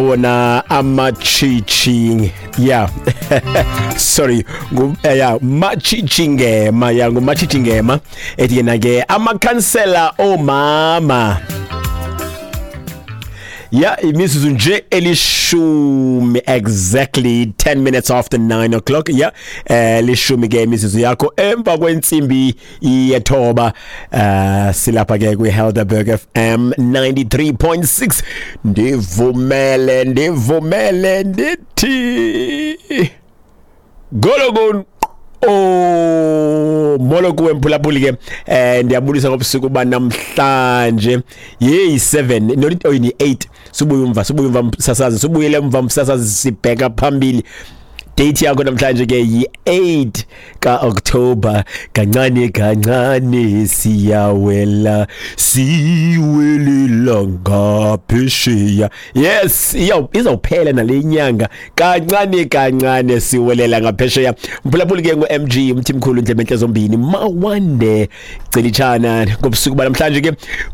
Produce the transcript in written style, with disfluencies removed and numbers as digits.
Wona amatshitshi, yeah, sorry, yeah, Matshitshi Ngema, yeah, nguMatshitshi Ngema ethi yena ke amakhansela omama. Ya, imizuzu nje 10, exactly 10 minutes after 9 o'clock. Ya, 10 ke imizuzu yakho emva kwentsimbi yethoba. Silapha ke kwi Helderberg FM 93.6. Ndivumele, ndivumele ndithi Gologon. Oh, molo kuwe mphulaphuli ke. Ndiyabulisa ngobusuku banamhlanje. Yeyi 7 not, oh, ni 8. Subuye umva, subuye umva msasazi, subuyele umva msasazi, sibheka phambili. Date yakho namhlanje ke yi-8 ka-October. Kancane kancane siyawela, siwelela ngaphesheya. Yes, izawuphela nale nyanga, kancane kancane siwelela ngaphesheya. Mphulaphuli ke, ngu-MG Mthimkhulu, Ndlebentle zombini, mawande celitshana ngobusuku banamhlanje ke.